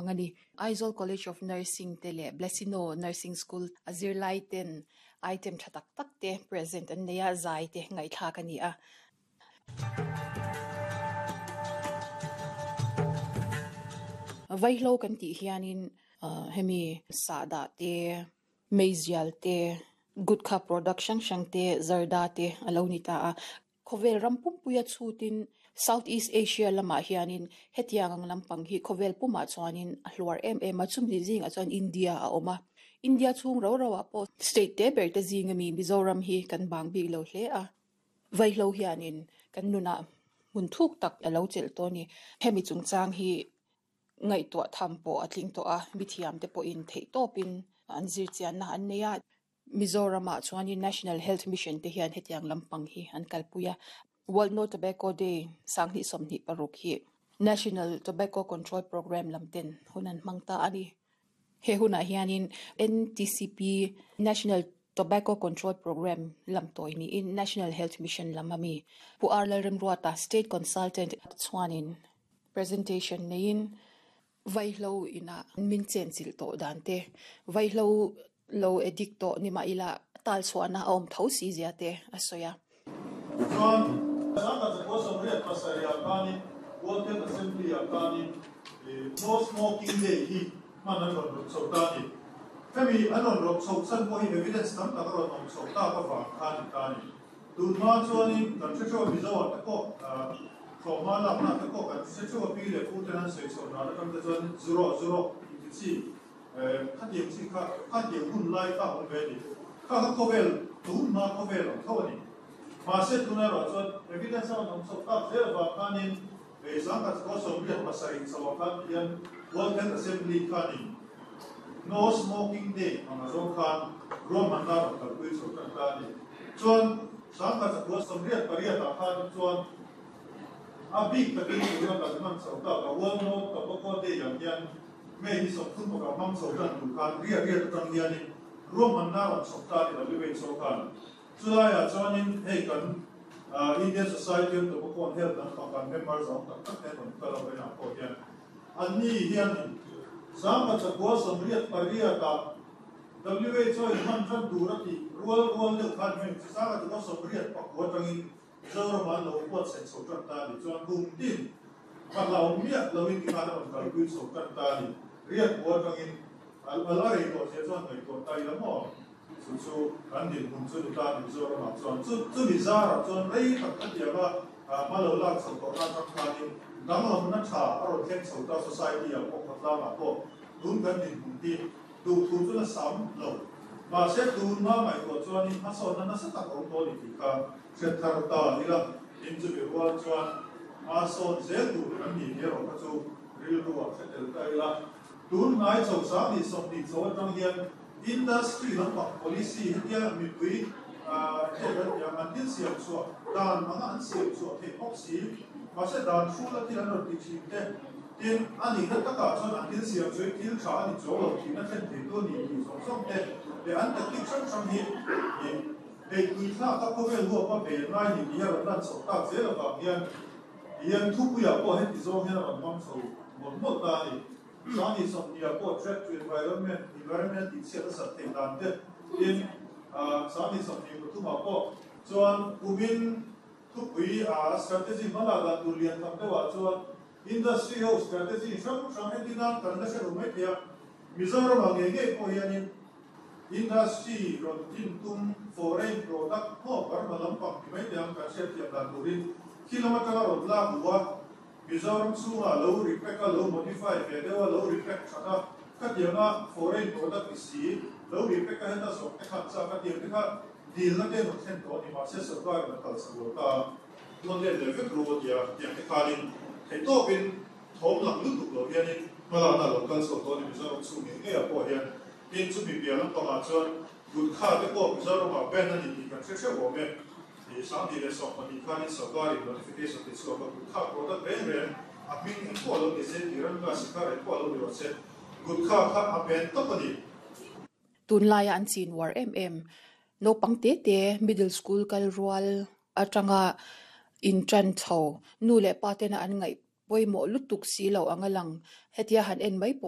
hmang a ni. Aizawl College of Nursing te leh Blessino Nursing School a zirlai ten item tha tak tak te present an nei a, zai te ngaihthlak a ni a. Vaihlo kan tih hianin hemi sahdah te, meizial te, gutkha product hrang hrang te, zarda te a lo ni ta a. Khawvel ram pumpuia chhutin South East Asia lamah hianin hetiang ang lampang hi khawvel pumah chuanin a hluar em em a, chumi zingah chuan India a awm a. India chhung ro roah pawh state te ber te zinga mi Mizoram hi kan bang bik lo hle a. Vaihlo hianin kan nunah hmun thuk tak a lo chelh tawh a ni. Hemi chungchang hi ngaihtuah tham pawh a tling tawh a, mithiamte pawhin theihtawpin an zirchianna an nei a. Mizoramah chuanin National Health Mission te hian hetiang lampang hi an kalpui a. World No Tobacco Day sanghnih 26 hi National Tobacco Control Programme lam ten hun an hmang ta a ni. He hunah hianin NTCP, National Tobacco Control Programme lam tawi niin National Health Mission lam a mi Pu R Lalremruata, State Consultant chuanin presentation neiin Vaihlo inah min chenchilh tawh dan te, vaihlo lo addict tawh ni mah ila tal chhuahna a awm tho si zia te a sawi a. Chuan, Sangha Chakua 87 ah khanin World Health Assembly ah khanin No Smoking Day hi hman an rawn rawp chho ta a ni. Hemi an rawn rawp chho chhan pawh hi evidence tam tak a rawn awm chho tak avang khan ni ta a ni. Tun hma chuanin kan hre theuh a Mizo ah te pawh thlawhhma lakna te pawh kan hre theuh a pi leh pu ten an sawi chhoh dan atang te chuan zu rawh zu rawh inti chi khatiang chi kha khatiang hun lai kha a awm ve a ni. Kha kha khawvel tun hma khawvel ang tho a ni. Mahse tun erawh chuan evidence a rawn awm chho tak zel avang khanin Zangkhat khaw 87 chho ah khan hian World Health Assembly khanin No Smoking Day ang a zawng khan ruahmanna rawn kalpui chho tan ta a ni. Chuan Sangkhat 88 ah khan chuan a bik takin tuna kan hman chho tak a World No Tobacco Day ang hian May hi 30 pakhat hmang chho tan tur khan riat riat atang hianin ruahmanna rawn chhawp ta a ni WHO khan. Chulaiah chuanin hei kan Indian Society of Tobacco and Health lampang kan member zawng tak tak te an rawn kal a vawiinah pawh hian anni hianin 1988 ah WHO in hman tan tur a tih rual rual deuh khan heng chu 1989 atangin Mizoramah an lo buatsaih chho tan ta a ni. Chuan kum tin a hlauh miah loin tikhan a rawn kalpui chho tan ta a ni. Riat atangin a la rei tawh zia chuan ngaihtuah ta ila maw? Chu chu kan dinhmun chu ni ta ni Mizoramah chuan chu chumi zarah chuan rei tak ka tiang a, hma lo lak chho tawhna atang khanin danglamna tha a rawn thleng chho ta society ah pawh khawtlangah pawh tun kan dinhmun hi duhthu chu na sam lo. Mahse tunhma ngaihtuah chuanin hmasawnna nasa tak a awm tawh a ni tih kha hre thar ta ila tin chumi rual chuan hma sawn zel tur kan ni tih erawh kha chu rilru ah hre tel ta ila. Tun hnai chho 20 20 chho atang hian Industry lampang policy hetia mipui hei kan ti ang, an thil siam chhuah dan anga an siam chhuah theih bawk si, mahse dan hrula thil an rawn ti thin te, tin a nihna takah chuan an thil siam chu thil tha a ni chuang lo thihna thlen thei tu a ni tih zawng zawng te leh an tactic hrang hrang hi hei tuithlak a khawvel huapa ven ngai ni tih hi a rawn lan chhoh tak zel avang hian hian thupuiah pawh heti zawng hian a rawn hmang chho mawlh mawlh ta a ni. Sangni 20 ah pawh threat to environment, environment tih chhiat a sat theih dan te tin 20 23 ah pawh chuan kumin thupui a strategy hma lak dan tur lian tham deuh ah chuan industry ho strategy hrang hrang entir nan kan la hre lo mai thei a, Mizoram ah ngei ngei pawh hianin industry rawn din tum foreign product maw Burma lampang ti mai te ang kan hriatthiam dan turin khi lam atanga rawn lak luh a. Mizoram chhungah lo repack a, lo modify ve deuh a, lo repack that a, khatianga foreign product ni si, lo repack a heta zawk te khan chak a tiang te kha dilna te an rawn thlen tawh a ni, mahse sorkar in a kal chak lo ta a, thawn let leh vek ru a ti a, tiang te khanin theihtawpin thawm lang lutuk lo hianin hmalakna a lo kal chho tawh a ni Mizoram chhung ngei ngeiah pawh hian. Tin, chumi piah lampangah chuan Gutkha te pawh Mizoramah ban a ni tih kan hre hreuh awm e. Ti 2012 khanin sorkarin notification ti chhuak a, Gutkha product reng reng a hming eng pawh lo ni se, Tiranga Shikhar eng pawh lo ni rawh se, Gutkha kha a ban tawp a ni. Tunlaia an chin uar em em, naupang te te middle school kal rual atanga intan chho, nu leh pa tena an ngaih pawimawh lutuk si lo ang a lang, hetia han en mai pawh.